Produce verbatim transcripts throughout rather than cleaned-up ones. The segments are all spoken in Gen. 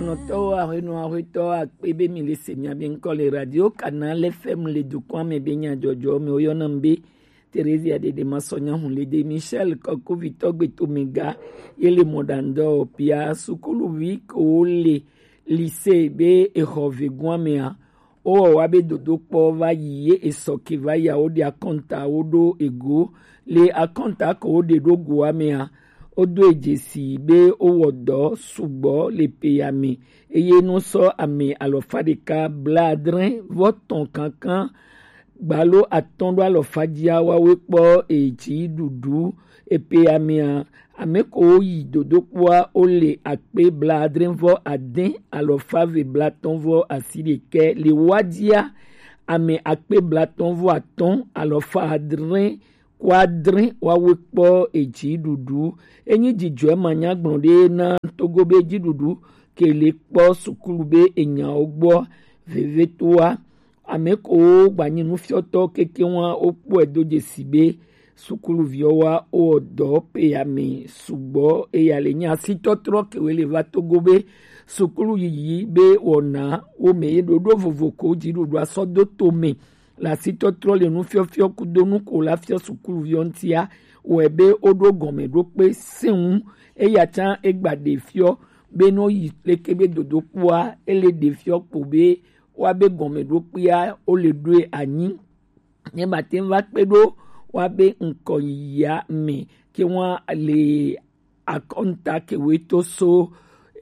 Nɔtɔwo, aƒenɔ, aƒetɔ, akpe be mi le se mia be ŋkɔ le Radio Canal F M le dukɔa me be nyadzɔdzɔ me woyɔna m be Theresia Dede Masɔnya Hunlede Michel Kɔkuvitɔ Gbetomega ye le mɔɖaŋdɔ pia sukuluvi ko le lycée be exɔ vegoa mea, wowɔ wa be dodokpɔ va yi ye esɔ ke va yi a, woɖe akɔnta woɖo ego. Le akɔnta ko woɖe ɖo goa mea, wodo e dzesi be wowɔ dɔ sugbɔ le peya me eye nusɔ ame alɔfa ɖeka blaadre vɔ tɔn kankan gbalo atɔn ɖo alɔfa dzia wawe kpɔ edzi ɖuɖu epeya mea, ame ko yi dodokpɔa wole akpe blaadre vɔ ade alɔfa ve blatɔn vɔ asi ɖekɛ le wa dzia ame akpe blatɔn vɔ atɔn alɔfa adre kɔ adre wawe kpɔ edzi ɖuɖu. Enyi dzidzɔe manyagblɔ ɖe na Togo be dziɖuɖu ke le kpɔ sukulu be enyawo gbɔ vevetoa. Ame ko gbanyi nufiɔtɔ keke wa wokpɔe do dzesi be sukuluviwo wa wowɔ dɔ peya me sugbɔ eya le nyi asitɔtrɔ kewe le va Togo be sukulu yiyi be wɔna wo me ye ɖoɖo vovo ko dziɖuɖua sɔ do to me le asitɔtrɔ le nufiɔfiɔ kudo nu ko la fiɔ sukuluviwo ŋutia wɔe be woɖo gɔmeɖokpe sẽŋu. Eya tsã egba ɖe fiɔ be no yi leke be dodokpɔa ele ɖe fiɔ kpo be wa be gɔmeɖokpea wole ɖoe anyi ne mate ŋu va kpe ɖo wa be ŋkɔ yiyia me ke wa le akɔnta kewe to so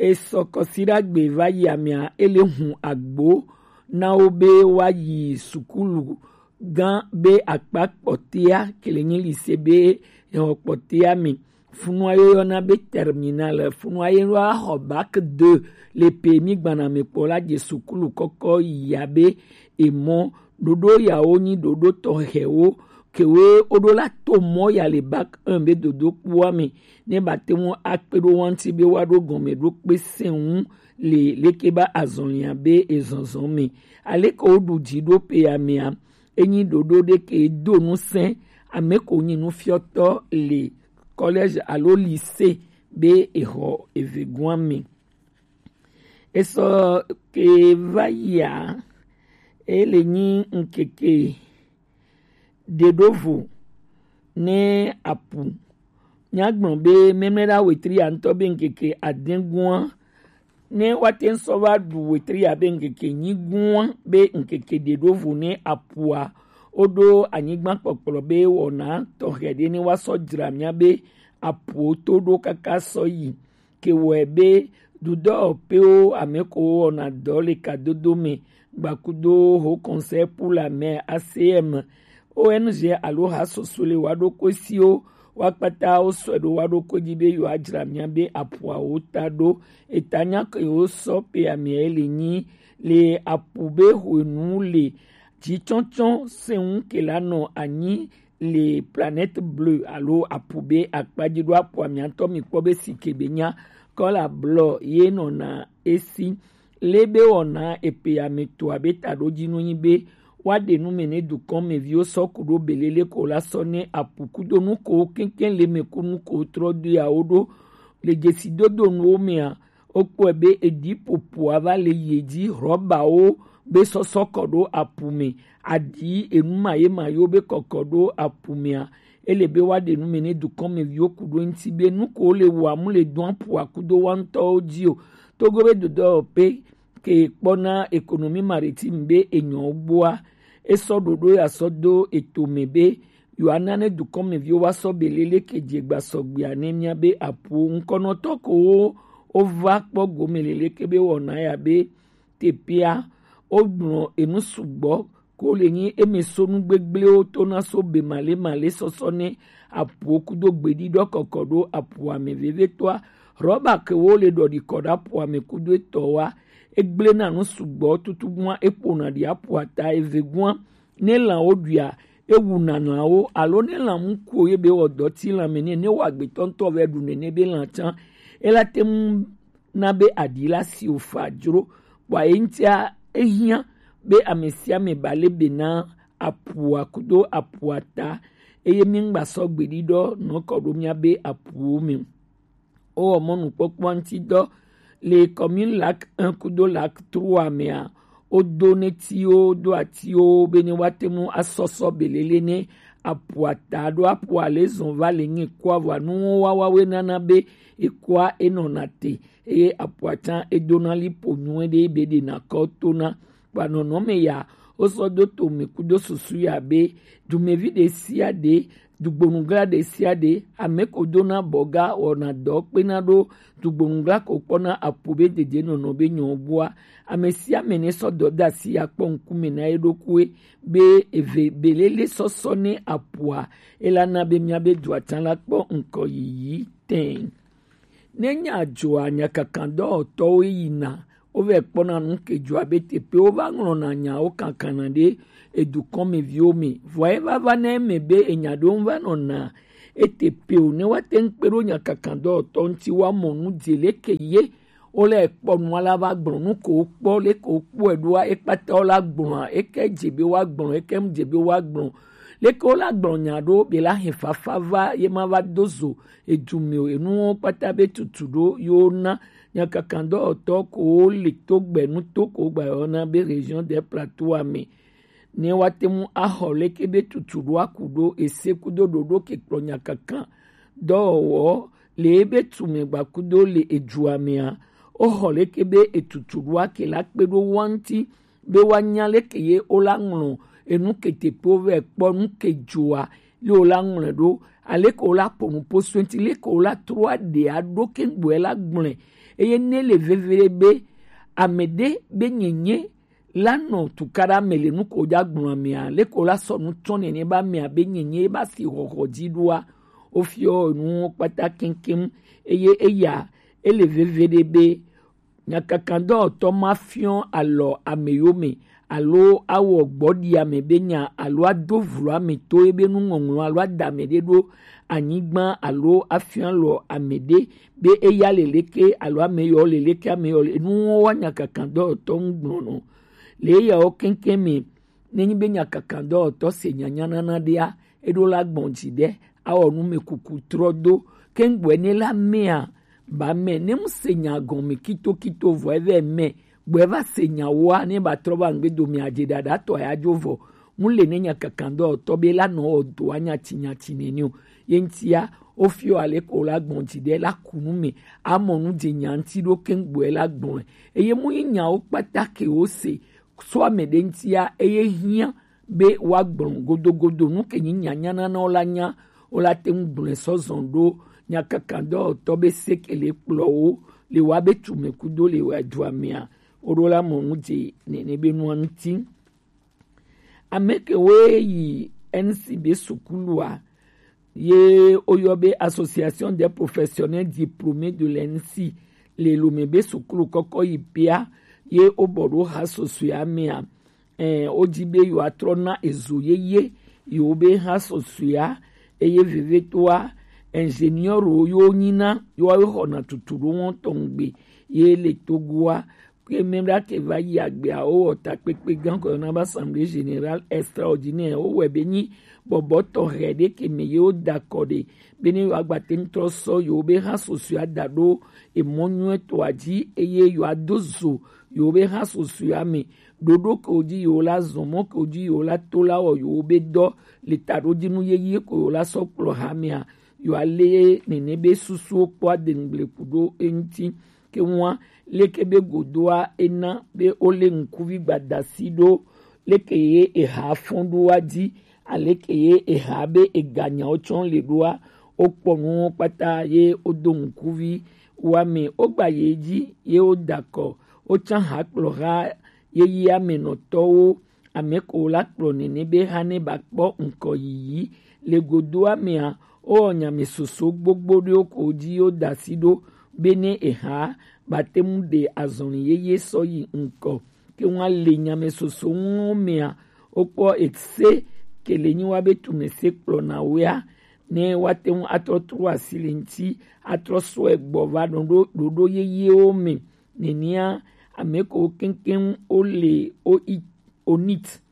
esɔ kɔsiɖagbe va yi amea ele hun agbo na wo be wa yi sukulu gã be akpa kpɔtea ke le nyi lycée be exɔ kpɔtea me. Funua ye woyɔna be terminal, funua ye woaxɔ bac deux le pe mi gbana me kpɔ la dze sukulu kɔkɔ yia be emɔ ɖoɖo yawo nyi ɖoɖo tɔxɛwo kewe woɖo la to mɔ ya le bac un be dodokpɔa me ne ba te ŋu akpe ɖo wa ŋuti be woaɖo gɔmeɖokpe sẽŋu le leke ba azɔlia be ezɔzɔ me. Aleke woɖu dzi ɖo peya mea, enyi ɖoɖo ɖe ke do ŋusẽ ame ko nyi nufiɔtɔ le collège alo lycée be exɔ evegoa me. Esɔ ke va yia, ele nyi ŋkeke ɖeɖovo ne apu. Nyagblɔ be memlɛɖa wetri ya ŋutɔ be ŋkeke adẽgoa ne woate ŋu sɔ va ɖu wetri ya be ŋkeke nyigua be ŋkeke ɖeɖovo ne apua woɖo anyigba kpɔkplɔ be wɔna tɔxɛ ɖe ne woasɔ dzra mía be apuwo to ɖo kaka sɔ yi ke wɔe be dudɔwɔƒewo ame ko wɔna dɔ le kadodo me gbakudo Haut Conseil pour la Mer, A C M, O N G alo hasoso le wa ɖo kɔsiwo wa kpata wo sɔe ɖo wa ɖo ko dzi be yewoadzra mía be apuawo ta ɖo. Eta nya ke yewo sɔ pe amea le nyi le apu be hwenu le dzitsɔtsɔ sẽŋu ke la nɔ anyi le Planète Bleue alo apu be akpa dzi ɖo apua mía ŋutɔ mi kpɔ be si ke be nya kɔla blɔ ye nɔna esi. Le be wɔna epe ame to abe taɖodzinu nyi be woaɖe nu me ne dukɔmeviwo sɔ ku ɖo belele ko la sɔ ne apu kudo nu ko keŋkeŋ le me ku nu ko trɔ do ya wo ɖo le dzesidodo nuwo mea, wokpɔe be eɖi ƒoƒoa va le yi dzi, hlɔbawo be sɔsɔ kɔ ɖo apu me, aɖi enu mayemayewo be kɔkɔ ɖo apu mea, ele be woaɖe nu me ne dukɔmeviwo ku ɖo eŋuti be nu ko wole wɔa mu le dɔn aƒua kudo wa ŋutɔwo dzi o. Togo be dodɔwɔƒe ke kpɔna économie maritime be enyɔwo gbɔa, esɔ ɖoɖo ya sɔ do eto me be yewoana ne dukɔmeviwo wa sɔ belele ke dze gba sɔgbea ne mía be aƒuwo ŋkɔnɔtɔ ko wo wova kpɔ gome leleke be wɔna ya be teƒea wogblɔ enu sugbɔ ko le nyi eme so nu gbegblẽwo to na so be male male sɔsɔ ne aƒuwo kudo gbeɖiɖɔ kɔkɔ ɖo aƒua me vevitɔa. Rɔba ke wo le ɖɔɖi kɔ ɖe aƒua me kudo etɔwa, egblẽna nu sugbɔ tutu gua eƒona ɖi aƒua ta eve gua ne lãwo ɖuia, ewuna lãwo, alo ne lã mu kuo ye be wɔ dɔ ti lãme nɛ, ne wɔ agbetɔ ŋutɔ vɛ ɖu nɛ, ne be lã tsã, ela te ŋu na be aɖi la si wòfa dzro, kpɔa ye ŋutia ehiã be ame sia ame ba le be na aƒua kudo aƒua ta, eye míŋgba sɔ gbeɖiɖɔ nɔ kɔ ɖo míabe aƒuwo me o. Wowɔ mɔnukpɔkpɔ ŋuti dɔ Le commune Lac un kudo Lac trois mea, wodo netiwo, do atiwo be ne woate ŋu asɔsɔ belele ne aƒua ta ɖo aƒua le zɔn va le ŋe kɔa vɔa nuwo wawawoe nana be ekɔa enɔna te eye aƒua tsã edona liƒo nyuie ɖe be ɖena kɔ tona. Kpa nɔnɔme ya, wosɔ do to me kudo susu ya be dumevi ɖe sia ɖe, dugbonugla ɖe sia ɖe, ame ko dona bɔga wɔna dɔ kpena ɖo dugbonugla ko kpɔna apu be dede nɔnɔ be nyɔ gbɔa. Ame sia ame ne sɔ dɔ da asi ya kpɔ ŋkume na ye ɖokuie be eve belele sɔsɔ ne apua, ela na be mía be dua tsã la kpɔ ŋkɔ yiyi tɛŋ. Ne nya dzɔa, nyakakan dɔwɔtɔwo yina, wovɛ kpɔna nu ke dzɔa be teƒe wova ŋlɔna nyawo kankana ɖe edukɔmeviwo me. Vɔa eva va na eme be enya ɖewo va nɔna eteƒe o, ne woate ŋu kpe ɖo nyakakan dɔwɔtɔ ŋuti woamɔ nu dze leke ye wole kpɔ nua la va gblɔ nu ko wokpɔ, leke wokpɔe ɖoa, ekpata wola gblɔa, eke dze be woagblɔ, eke mu dze be woagblɔ. Leke wola gblɔ nya ɖo be la hɛ fafa va ye ma va do zo edu me o. Enuwo kpata be tutu ɖo yewo na nyakakan dɔwɔtɔ ko wo le to gbe nuto ko gba yɔ na be région des plateaux ame. Ne woate ŋu axɔ leke be tutu ɖo aku ɖo ese kudo ɖoɖo ke kplɔ nyakakan dɔwɔwɔ le ebe tume gba kudo le edua mea, woxɔ leke be etutu ɖo ake la kpe ɖo wa ŋuti be woanya leke ye wola ŋlɔ enu ke teƒewo vɛ kpɔ nu ke dzoa, ye wola ŋlɔe ɖo, aleke wola ƒo nu ƒo so eŋuti, leke wola trɔ aɖe aɖo keŋgbɔe la gblɔe. Eye ne le veve ɖe be ame ɖe be nyenye la nɔ tukaɖa me le nu ko dza gblɔ amea, leke wola sɔ nu tsɔ nene be amea be nyenye ba si xɔxɔ dzi ɖoa, wofiɔ nuwo kpata keŋkeŋ. Eye eya ele veve ɖe be nyakakadɔwɔtɔ ma fiɔ alɔ ame yome alo awɔ gbɔɖi ame be nya alo ado vlo ame to ebe nuŋɔŋlɔ alo ada ame ɖe ɖo anyigba alo afiɔ alɔ ame ɖe be eya le leke alo ame yɔ le leke ame yɔ le nuwo wa nyakakadɔwɔtɔ ŋu gblɔ nɔ le eyawo keŋkeŋ me. Nenyi be nyakakadɔwɔtɔ se nyanyanana ɖea, eɖo la gbɔn dzi ɖe awɔ nu me kuku trɔ do keŋgbɔe ne la mea ba mɛ ne mu se nya gɔme kitokito vɔ evɛ mɛ gbɔ eva se nya woa ne ba trɔ va ŋgbe do mea dze ɖaɖa tɔ ya dzo vɔ mu le ne nyakakadɔwɔtɔ be la nɔ wɔ do anya tsi nya tsi nene o. Ye ŋutia wofiɔ ale ko la gbɔn dzi ɖe la ku nu me amɔ nu dze nya ŋuti ɖo keŋgbɔe la gbɔe. Eye mu yi nyawo kpata ke wo se so ame ɖe ŋutia eye hiã be woagblɔ godogodo nu ke nyi nyanyananawo la nya wola te ŋu gblɔe sɔ zɔn ɖo nyakakadɔwɔtɔ be sekele kplɔwo le wa be tume kudo le wa dua mea woɖo la mɔ nu dze nene be nua ŋuti. Ame ke woe yi N C B sukulua ye woyɔ be Association des Professionnels Diplômés de l'N C le Lomé be sukulu kɔkɔ yi pia ye wobɔ ɖo ha susɔe amea. Ɛɛ, wodzi be yewoatrɔ na ezo yeye yewo be ha susɔea eye vevitɔa ingénieur wo yewo nyina yewoawo xɔna tutu ɖo wɔn tɔn gbe ye le Togoa. Ke mɛ ɖa ke va yi agbea wowɔ takpekpe gã kɔ yɔna be assemblée générale extraordinaire wowɔe be nyi bɔbɔ tɔxɛ ɖe ke me ye woda kɔ ɖe be ne yewoagba te ŋu trɔ sɔ yewo be ha susɔea da ɖo emɔ nyuietɔa dzi eye yewoado zo yewo be ha susɔea me ɖoɖo ke wo dzi yewo la zɔn mɔ ke wo dzi yewo la to la wɔ yewo be dɔ le taɖodzinu yeye ko yewo la sɔ kplɔ hamea yewoa le nene be susuwo kpɔ adeŋgble ku ɖo eŋuti. Ke ŋua leke be godoa ena be wole ŋkuvi gbadasi ɖo leke ye eha fɔn ɖoa dzi aleke ye eha be eganyawo tsɔ le ɖoa wokpɔ nuwo kpata ye wodo ŋkuvi woame wogba ye dzi ye woda kɔ wotsã ha kplɔ ha yeyea me nɔtɔwo ame ko la kplɔ nene be ha ne ba kpɔ ŋkɔ yiyi le godoa mea wowɔ nyame soso gbogbo ɖewo ko dzi woda asi ɖo be ne eha ba te ŋu ɖe azɔli yeye sɔ yi ŋkɔ ke ŋua le nyame soso ŋuwo mea wokpɔ ese ke le nyi wa be tume se kplɔ na woea ne woate ŋu atrɔ trɔ asi le ŋuti atrɔ sɔe gbɔ va ɖoɖo ɖoɖo yeyewo me. Nenea ame ko keŋkeŋ wole wo i- onit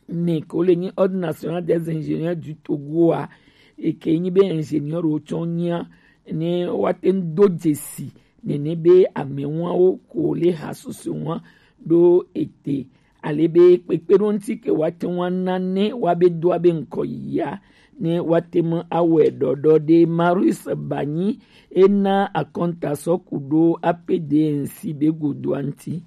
ne ko le nyi Ordre National des Ingénieurs du Togo a eke nyi be ingénieur wo tsɔ nyia ne woate ŋu do dzesi nene be amɛwawo ko le ha susu wa ɖo ete, ale be kpekpeɖoŋuti ke wa te wa na ne wa be do abe ŋkɔ ya ne wa te me awɛ ɖɔɖɔ ɖe. Marius Banyi ena akɔnta sɔ ku ɖo A P D N C be godoa ŋuti.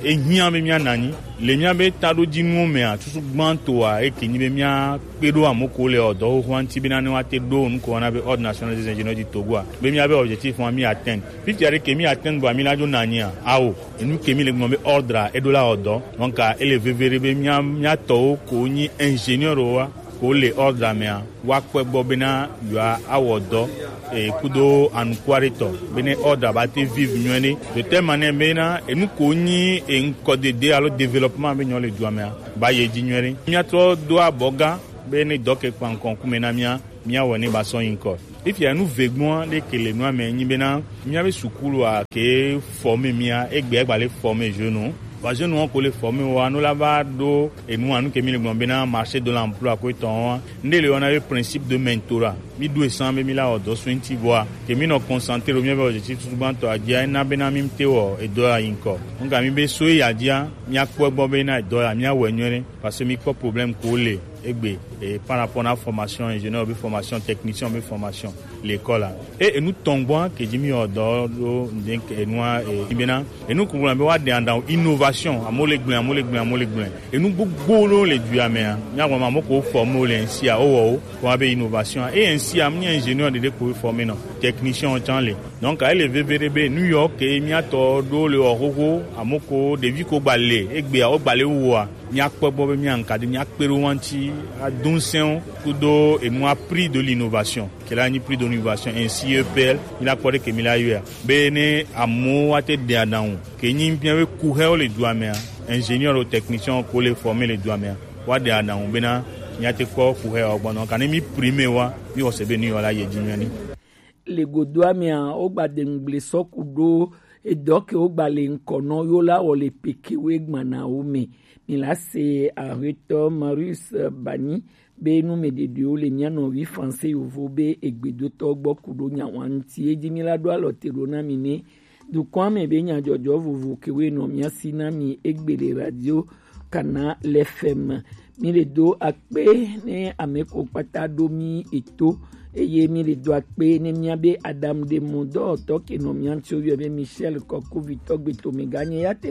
Ehiã be míana anyi le míabe taɖodzinuwo mea, susu gbãtɔa eke nyi be míakpe ɖo ame ko le ɔ dɔ xoxoa ŋuti bena ne woate ɖo nu ko wɔna be Ordre National des Ingénieurs du Togo a, be míabe objectif ma mí atteindre. Fifia ɖe ke mí atteindre bua mí la dzo na anyia? Ao, enu ke mí le gblɔ be ordre a eɖo la wɔ dɔ. Donc ele veve ɖe be mía mía tɔwo ko nyi ingénieur wa ko le ordre mea, woakpɔe gbɔ bena yewoa awɔ dɔ e kudo anukua ɖe tɔ bene ordre ba te vive nyuie ɖe. De telle manière bena enu ko nyi e ŋkɔ dede alo développement be nyɔ le dua mea, ba ye dzi nyuie ɖe. Míatrɔ do abɔ gã be ne dɔ ke kpa ŋkɔ ŋkume na mía, míawɔe ne ba sɔ yi ŋkɔ. Fifia enu vegbɔa ɖe ke le nua me nyi bena míabe sukulua ke forme mía, egbea gba le forme jeune. Vɔ jeune wo ko le forme wa, no la va ɖo enu anu ke mi le gblɔ bena marché de l'emploi ko etɔn wa. Nde le wɔna be principe de mentorat. Mi ɖo esan be mi la wɔ dɔ so ŋuti vɔa. Ke mi nɔ concentrer ɖo míabe objectif tutugbãtɔ a dzia, ena bena mi te wɔ edɔ ya yi ŋkɔ. Ŋka mi be so ya dzia, míakpɔ egbɔ be na edɔ ya míawɔe nyuie ɖe. Parce que mi kpɔ problème ko le egbe e par rapport na formation ingénieur be formation technicien be formation l'école a. E enu tɔn gbɔa ke dzi mi wɔ dɔ ɖo ŋde ke enua e bena enu kugula be wa de andan innovation, amo le gblẽ, amo le gblẽ, amo le gblẽ. Enu gbogbo ɖo le du ya mea, mía gblɔ ma amo ko forme le ŋsi a, o wɔ o, ko abe innovation a. E ŋsi a, mi ingénieur ɖeɖe ko forme nɔ, technicien o tsan le. Donc ele veve ɖe be nu yɔ ke mía tɔ ɖo le wɔ xoxo, amo ko ɖevi ko gba le, egbea o gba le woa. Míakpɔ gbɔ be míaŋka ɖe míakpe ɖo wo ŋuti adosɛwo kudo enua prix de l'innovation, ke la nyi prix de l'innovation ainsi E P L, mi la kpɔ ɖe ke mi la yɔa. Be ne amewo wa te ɖe aɖaŋu, ke nyi míabe kuxewo le dua mea, ingénieur o technicien ko le forme le dua mea, wa ɖe aɖaŋu bena míate kpɔ kuxewo gbɔ nɔ. Kane mi prime wa, mi wɔ se be nu yɔ la ye dzi nyuie ni. Le godoa mea, wogba de ŋgble sɔ ku ɖo edɔ ke wogba le ŋkɔ nɔ yo la wɔ le peke wo egbana wo me. Mi la se ahetɔ Marius Bani be nu me ɖeɖewo le mía nɔvi français yovo be egbedotɔ gbɔ ku ɖo nya wa ŋuti. Edzi mi la ɖo alɔ te ɖo na mi ne dukɔa me be nyadzɔdzɔ vovo ke wo nɔ mía si na mi egbe le radio Kana le F M. Mi le do akpe ne ame ko kpata ɖo mi eto, eye mi le do akpe ne mía be aɖaŋuɖemɔdɔwɔtɔ ke nɔ mía ŋuti wo yɔ be Michel Kɔkuvitɔ gbe to me ganye ya te